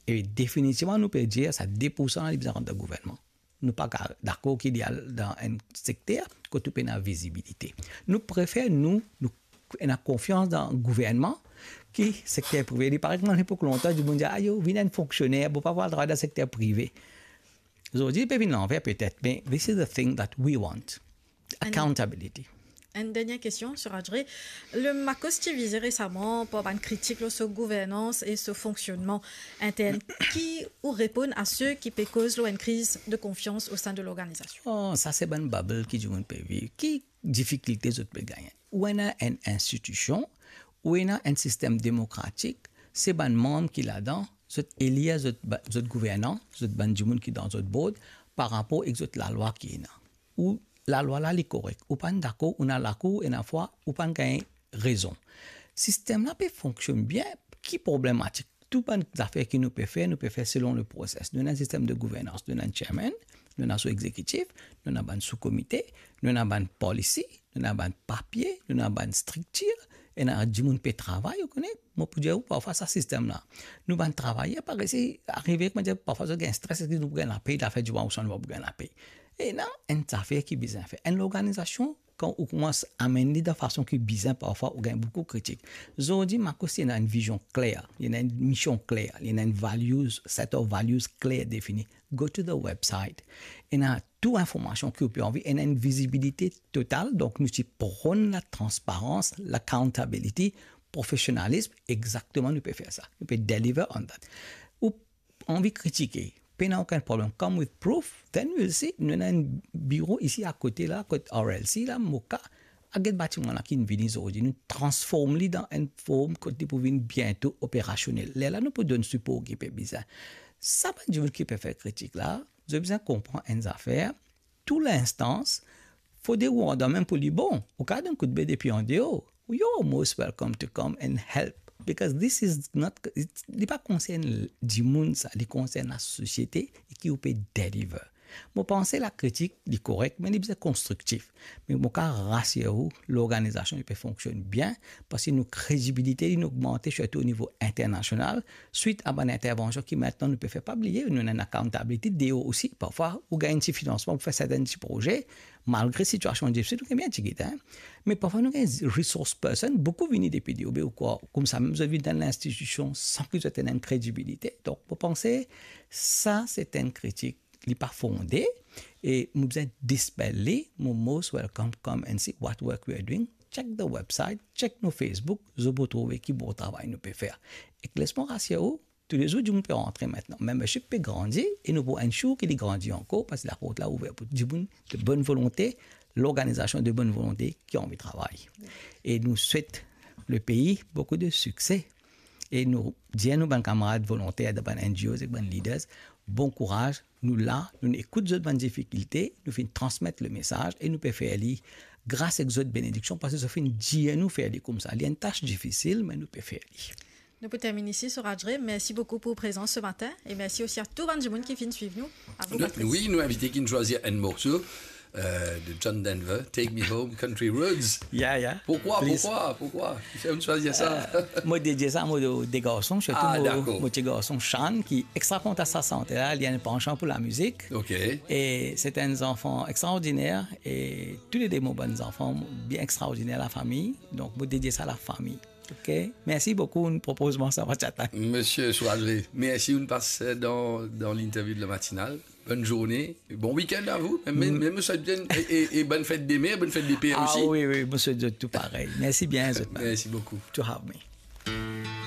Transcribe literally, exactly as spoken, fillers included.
E definitivman, nou pe dir sa de poursan la, li bizin rant dan gouvernman. Nou pa ka dakor ki li al dan enn sekter kot ou pena vizibilite. Nou prefer nou, nou ena konfians dan gouvernman ki sekter prive. Li parey kouma lepok lontan, dimoun dir, "Ayo, vinn enn fonksioner, bon, pa pou al travay dan sekter prive." Zordi, li pe vinn lanver petet, me this is the thing that we want. And accountability. Enn dernie kestion, Suraj Ray. Le Makos ti vize resaman par bann kritik lor so gouvernans e so fonksionnman intern. Ki ou reponn a se ki pe koz lor enn kriz de konfians o sein de lorganizasion? Oh, sa se bann bubble ki dimoun pe viv. Ki difikilte zot pe gagne? Ou ena enn institision, ou ena enn sistem demokratik, se bann manm ki ladan, zot elir zot ba-, zot gouvernan, zot bann dimoun ki dan zot board, par rapor ek zot lalwa ki ena. Ou lalwa la li korek, ou pa'nn dakor, ou ena lakour, ena fwa ou pa'nn gagn rezon. Sistem la pe fonksionn bien, ki problematik? Tou bann zafer ki nou pe fer, nou pe fer selon le proses. Nou ena enn sistem de gouvernans, nou ena enn chairman, nou ena so exekitif, nou ena bann sou-komite, nou ena bann polisi, nou ena bann papie, nou ena bann striktir, ena dimoun pe travay, ou kone, mo pou dir ou, parfwa sa sistem la. Nou bann travayer pa resi arive, kouma dir, parfwa zot gagn stres, eski nou pou gagn lapey, lafer dimoun ouswa nou pa pou gagn lapey. Ena enn zafer ki bizin fer. Enn lorganizasion, kan ou koumans amenn li dan fason ki bizin, parfwa ou gagn boukou kritik. Zordi, Makos, li ena enn vizion kler, li ena enn mision kler, li ena enn values, set of values kler defini. Go to the website. Ena tou informasion ki ou pe anvi, ena enn vizibilite total, donk nou ti pronn latransparans, l'accountability, profesionalism, exakteman nou pe fer sa. Nou pe deliver on that. Ou anvi kritike, pena okenn problem, come with proof, then we'll see. Nou ena enn biro isi akote la, kot R L C la, Moka, a get batiman la ki vini zordi, nou transform li dan enn form kot li pou vinn biento operasionel. Lerla nou pou donn sipor ki pe bizin. Sa bann dimoun ki pe fer kritik la, zot bizin konpran enn zafer, tou linstans, fode ou andan mem pou li bon, ou kapav donn koudme depi andeor. You're most welcome to come and help, because this is not, it's, li pa konsern dimoun sa, li konsern lasosiete e ki ou pe deliver. Mo panse lakritik, li korek, me li bizin konstriktif. Me mo kapav rasir ou, lorganizasion li pe fonksionn bien, parski nou kredibilite li inn ogmante, sirtou o nivo internasional, swit a bann intervansion ki aster nou pe fer. Pa bliye, nou ena enn accountability deor osi. Parfwa, ou gagn enn ti finansman pou fer sertenn ti proze, malgre sitiasion difisil, nou gagn bien tigit, hein. Me parfwa, nou gagn resource person, boukou vini depi deor, be ou krwar, koumsa mem zot vinn dan linstitision san ki zot ena enn kredibilite. Donk, mo panse, sa, se enn kritik, li pa fonde, e mo bizin dispel li, mo most welcome, come and see what work we are doing. Check the website, check nou Facebook, zot pou trouve ki bon travay nou pe fer. Ek les mo rasir ou, toulezour dimoun pe rantre aster, membership pe grandi, e nou pou ensure ki li grandi ankor, parski laport la ouver pou dimoun de bonn volonte, lorganizasion de bonn volonte ki anvi travay. E nou swet lepei boukou de sikse. E nou dir nou bann kamarad volonter, dan bann N G Os ek bann leaders, bon kouraz, nou la, nou ekout zot bann difikilte, nou finn transmet lemesaz e nou pe fer li gras ek zot benediksion, parski zot finn dir nou fer li koumsa. Li enn tas difisil, me nou pe fer li. Nou pou termine isi, Suraj Ray. Mersi boukou pou prezans se matin e mersi osi a tou bann dimoun ki finn swiv nou. A vou, Patrice. Wi, nou invite ki finn swazir enn morso, euh, de John Denver, Take Me Home, Country Roads. Yeah, yeah. Please. Pourquoi, pourquoi, pourquoi? Ki fer ou swazir sa? Euh, mo dedie sa mo de garson, sirtou mo, mo ti garson Sean, ki extra kontan sa sante la, li ena enn pansyon pou lamizik. Ok. E se enn zanfan extraordiner, e toulede mo bann zanfan bien extraordiner, lafami. Donk, mo dedie sa lafami. Ok. Mersi boukou, ou'nn propoz mwa sa, mo ti atann. Misie Suraj Ray, mersi, ou'nn pas dan, dan l'interview de la matinale. Bonne journée, bon week-end à vous. Mem, mem, mem, mo swet bien, e, e, e bonne fête des mères, bonne fête des pères aussi. Ah wi, wi, mo swet zot tou parey. Mersi bien, zot. Mersi boukou. To have me.